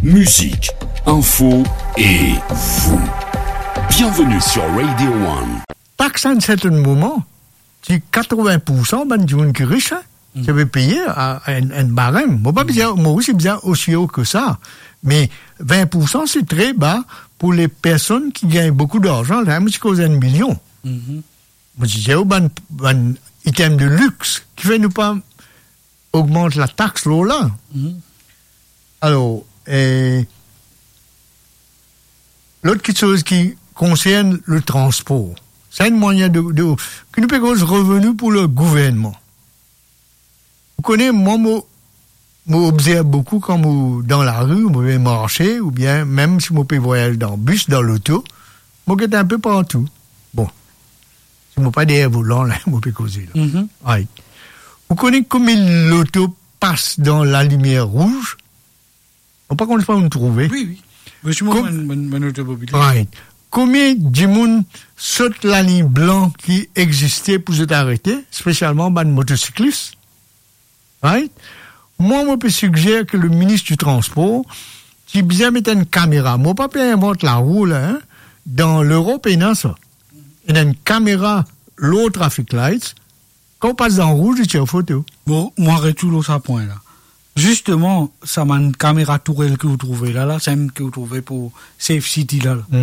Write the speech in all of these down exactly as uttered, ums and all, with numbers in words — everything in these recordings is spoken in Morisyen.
Musique, info et vous. Bienvenue sur Radio One. Tax enn sertenn moman, ti katrovin poursan bann dimoun ki ris, hein, ti pe peye a, a enn, enn barem. Mo pa bizin, Moris bizin osi o ki sa, me vin poursan se tre ba pou le personn ki gagn boukou larzan. La, mo ti koz enn milion. Mo ti dir, o, bann, bann item de lix, kifer nou pa ogmant latax lor la? Alor, eh, lot kiksoz ki konsern le transpor, sa enn mwayin de, de, ki nou pe koz reveni pou le gouvernman. Ou kone, mwa, mo, mo obzerv boukou kan mo dan lari, mo pe marse, oubien mem si mo pe vwayaz dan bis, dan loto, mo get inpe partou. Bon, si mo pa deryer volan la, mo pe koze la. Right. Ou kone komie loto pas dan lalimier rouz? Mo pa konn si ou trouve. Wi, wi. Mo, mo, mo, mo otomobilis. Right. Komie dimoun sot laliny blan ki existe pou zot arete, spesialman bann motosiklis? Right? Mwa, mo pe sigzer ke le minis di transpor ti bizin met enn kamera. Mo pa pe invant larou la, hein. Dan Lerop, ena sa. Ena enn kamera lor traffic lights. Kan ou pas dan rouz, li tir foto. Bon, mwa retourn lor sa pwin la. Zisteman, sa bann kamera tourel ki ou trouve la, la, sa mem ki ou trouve pou Safe City la, la.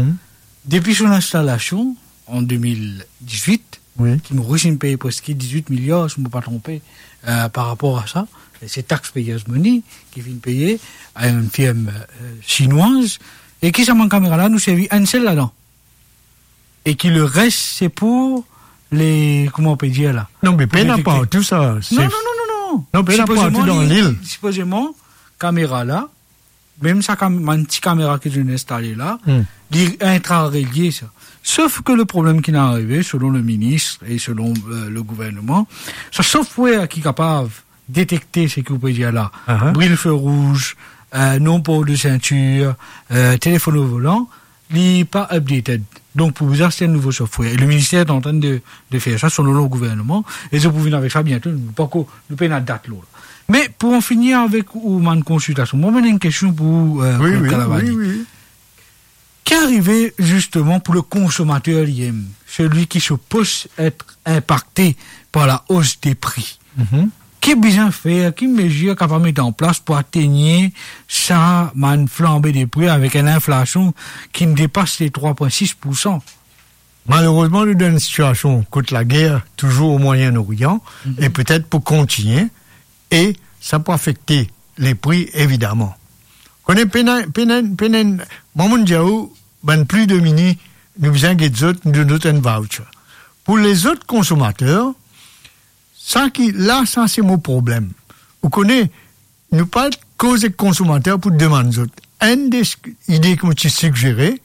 Depi son instalasion, an de mil dizwit, wi, ki Moris inn peye preske dizwit miliar, si mo pa tronpe, eh, par rapor a sa, e se taxpayers' money ki finn peye a enn firm, eh, sinwaz, e ki sa bann kamera la, nou servi enn sel ladan. E ki le res, se pou le, kouma ou pe dir la? Non, me pena partou sa. Non, non, non, non, non. Non, pena partou dan lil. Sipozeman, kamera la, mem sa kam-, bann ti kamera ki zot inn instale la, li intra-relie sa. Sof ke le problem ki inn arive, selon le minis e selon, eh, le gouvernman, sa software ki kapav detekte seki ou pe dir la, bril fe rouz, eh, non-port de ceinture, eh, telefonn o volan, li pa updated. Donk, pou bizin aste enn nouvo software. E le minister est en train de, de fer sa, selon le gouvernman. E zot pou vinn avek sa biento. Nou pankor, nou pena dat lor la. Me pou an fini avek ou bann konsiltasion, mwa, mo ena enn kestion pou ou, eh, Claude Calavani. Wi, wi, wi. Ki arive zisteman pou le konsomater li mem, celui qui suppose être impacté par la hausse des prix? Ki bizin fer, ki mezir kapav met an plas pou atenir sa bann flanbe de pri avek enn inflasion ki depas le trwa pwin sis poursan? Malerezman, nou dan enn sitiasion kot lager touzour o Mwayen Orian, e petet pou kontigne, e sa pou afekte le pri, evidaman. Kone, pena, pena, pena, mwa, mo'nn dir ou, bann pli demini, nou bizin get zot, nou donn zot enn voucher. Pou lezot konsomater, sa ki la, sa se mo problem. Ou kone, nou pa koz ek konsomater pou demann zot. Enn de s-, ide ki mo ti sigzere,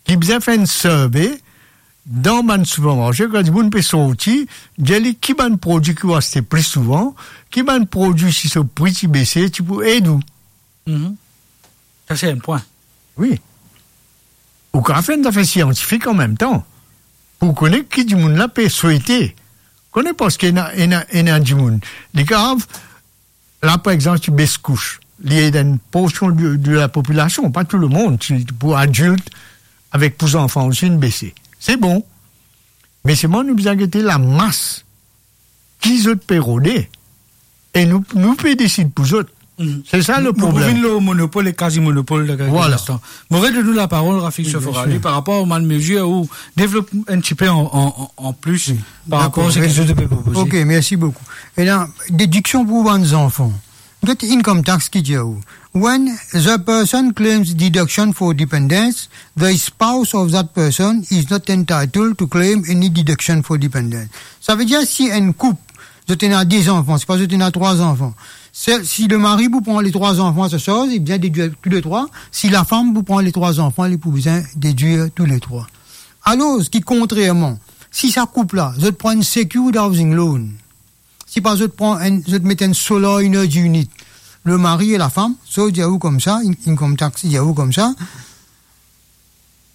ki bizin fer enn survey dan bann sipermarse, kan dimoun pe sorti, dir li ki bann prodwi ki ou aste pli souvan, ki bann prodwi si so pri ti bese, ti pou ed ou. Mhm. Sa se enn pwin. Wi. Ou kapav fer enn zafer siantifik anmemtan, pou kone ki dimoun la pe swete. Kone, parski ena, ena, ena dimoun, li kapav, la, par exanp, ti bes kous, li ed enn porsion de, de la popilasion, pa tou lemonn, ti pou adilt avek pou zanfan osi inn bese. Se bon. Me selman nou bizin gete lamas ki zot pe rode, e nou, nou pe desid pou zot. Mhm. Se sa le problem. Nou, nou vinn lor monopol e kazi monopol dan kelke instan. Mo redonn ou laparol, Rafik Soforali, par rapor a bann mezir ou devlop enn tipe an, an, an, an plis par rapor a seki zot pe propoze. Wi, dakor. Mersi. Ok, mersi boukou. E la, dediksion pou bann zanfan. Get income tax ki dir ou, when the person claims deduction for dependence, the spouse of that person is not entitled to claim any deduction for dependence. Savedir, si enn koup, zot ena de zanfan, se pa zot ena trwa zanfan. Se, si le mari pou pran le trwa zanfan a sa sarz, li bizin dedir tou le trwa. Si lafam pou pran le trwa zanfan, li pou bizin dedir tou le trwa. Alor ki kontrerman, si sa koup la, zot pran enn secured housing loan, si pa zot pran enn, zot met enn solar energy unit, le mari e lafam, so dir ou koumsa, in-, income tax dir ou koumsa,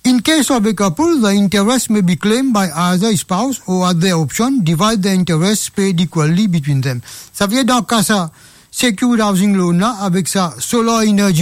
in case of a couple, the interest may be claimed by either spouse or, at their option, divide the interest paid equally between them. Savedir, dan ka sa secured housing loan la, avek sa solar energy